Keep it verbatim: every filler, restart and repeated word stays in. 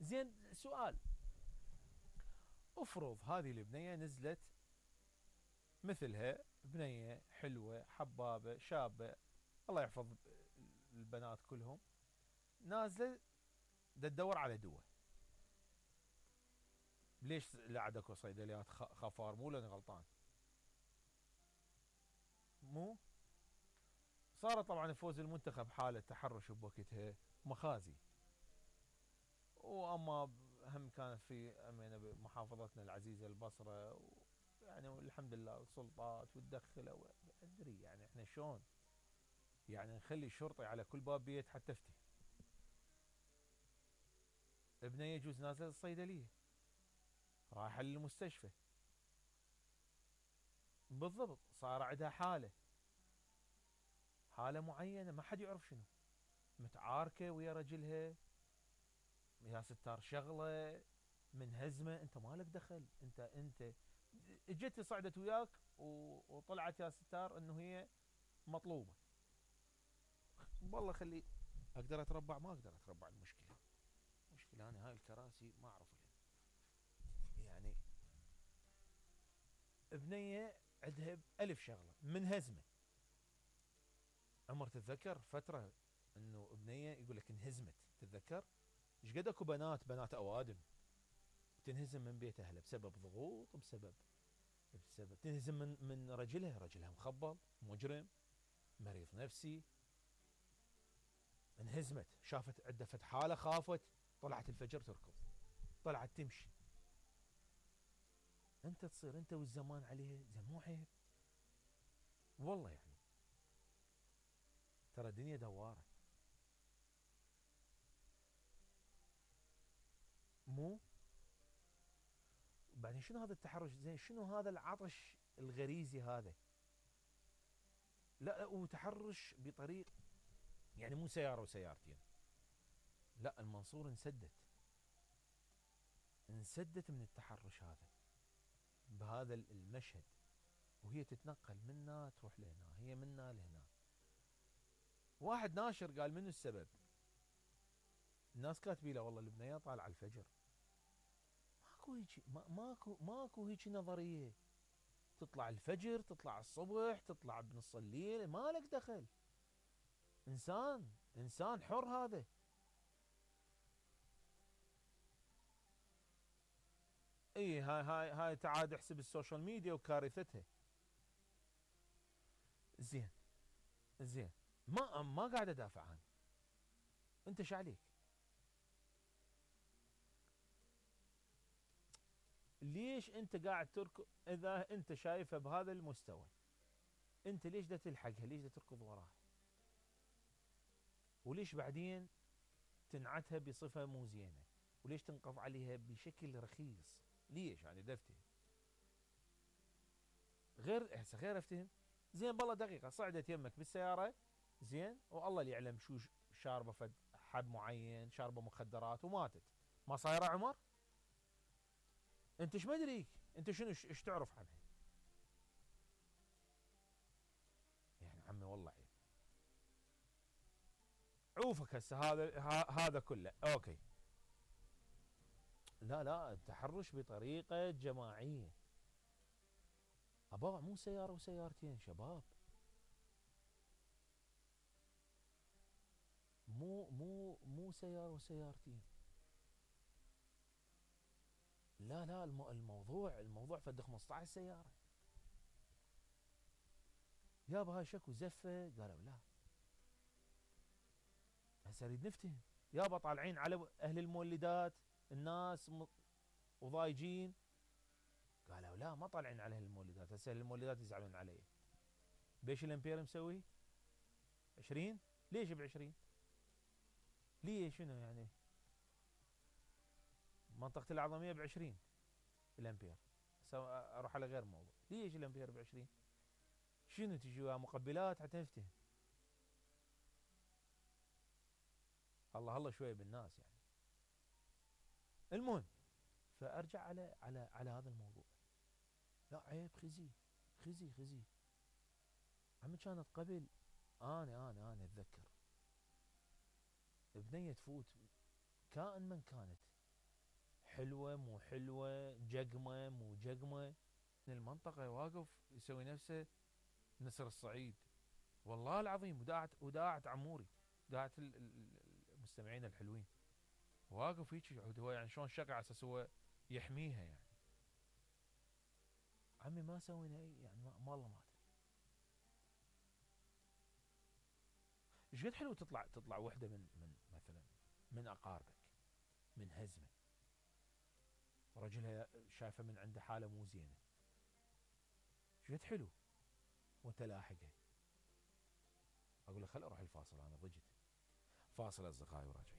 زين سؤال، افرض هذه البنية نزلت مثلها بنية حلوة حبابة شابة، الله يحفظ البنات كلهم، نازلة دا تدور على دواء. ليش لا عاد اكو صيدليات خفار؟ مو لاني غلطان؟ مو صار طبعا فوز المنتخب حالة تحرش بوقتها مخازي، واما هم كانت في امينه بمحافظتنا العزيزه البصره، يعني الحمد لله السلطات وتدخلوا ادري يعني احنا شلون يعني نخلي شرطي على كل باب بيت حتى افتي. ابني يجوز نازل الصيدليه رايحه للمستشفى، بالضبط صار عندها حاله حاله معينه ما حد يعرف شنو، متعاركه ويا رجلها يا ستار شغله منهزمه، انت مالك دخل، انت انت اجت صعدت وياك وطلعت يا ستار انه هي مطلوبه، والله خلي اقدر اتربع ما اقدر اتربع. المشكله مشكله انا هاي الكراسي ما اعرف لها يعني. بنيه عندها الف شغله منهزمه. عمر تتذكر فتره انه بنيه يقول لك انهزمت، تتذكر ايش قد اكو بنات بنات اوادم تنهزم من بيت اهلها بسبب ضغوط، بسبب بسبب تنهزم من من رجلها، رجلها مخبل مجرم مريض نفسي، انهزمت شافت عده فت حاله خافت طلعت الفجر تركض، طلعت تمشي. انت تصير انت والزمان عليه زين مو عيب والله يعني، ترى الدنيا دواره مو. بعدين شنو هذا التحرش زين؟ شنو هذا العطش الغريزي هذا؟ لا وتحرش بطريق يعني مو سياره وسيارتين، لا المنصور انسدت انسدت من التحرش هذا بهذا المشهد، وهي تتنقل منا تروح لهنا، هي منا لهنا. واحد ناشر قال منو السبب؟ الناس كاتبين له والله البنيه طالعه الفجر. ماكو هيك ماكو ماكو هيك نظريه، تطلع الفجر تطلع الصبح تطلع بنص الليل مالك دخل، انسان انسان حر هذا. اي هاي هاي هاي تعاد احسب السوشيال ميديا وكارثتها. زين زين ما ما قاعد ادافع عنه، انت ايش عليك؟ ليش انت قاعد تركض اذا انت شايفها بهذا المستوى؟ انت ليش دا تلحقها؟ ليش دا تركض وراها؟ وليش بعدين تنعتها بصفه مو زينه؟ وليش تنقض عليها بشكل رخيص؟ ليش يعني دفتي غير هسه غير افتهم. زين بالله دقيقه صعدت يمك بالسياره زين والله اللي يعلم شو شاربه فد حب معين، شاربه مخدرات وماتت، ما صايره عمر؟ انت ايش مدريك؟ انت شنو ايش تعرف عنها؟ يعني عمي والله عيب. عوفك هسه هذا هذا كله اوكي. لا لا التحرش بطريقه جماعيه ابا مو سياره وسيارتين شباب، مو مو مو سياره وسيارتين. لا لا الموضوع الموضوع فد خمسطعش سياره. يابا هاي شكو زفه؟ قالوا لا. هسه نريد نفتهم يابا طالعين على اهل المولدات الناس وضايجين، قالوا لا ما طالعين على اهل المولدات، هسه اهل المولدات يزعلون علي. بيش الامبير مسوي؟ عشرين؟ ليش ب عشرين؟ ليش شنو يعني؟ منطقة الأعظمية ب عشرين الامبير، اروح على غير موضوع، ليش الامبير ب عشرين؟ شنو تجي مقبلات حتى نفتهم؟ الله الله شويه بالناس يعني. المهم فارجع على على على هذا الموضوع. لا عيب خزي خزي خزي. عمي كانت قبل انا انا انا اتذكر بنيه تفوت كائن من كانت حلوة مو حلوة، جقمة مو جقمة. المنطقة واقف يسوي نفسه نسر الصعيد، والله العظيم، وداعت وداعت عموري، داعت المستمعين الحلوين، واقف هيك هو يعني شلون شقع على اساس هو يحميها يعني. عمي ما سوينا اي يعني ما الله ما ادري. ايش قد حلو تطلع تطلع وحده من من مثلا من اقاربك من هزمه، رجلها شايفه من عنده حاله مو زينه، ايش قد حلو وانت لاحقها. اقول له خل اروح الفاصل انا ضجت. فاصل اصدقائي وراجعين.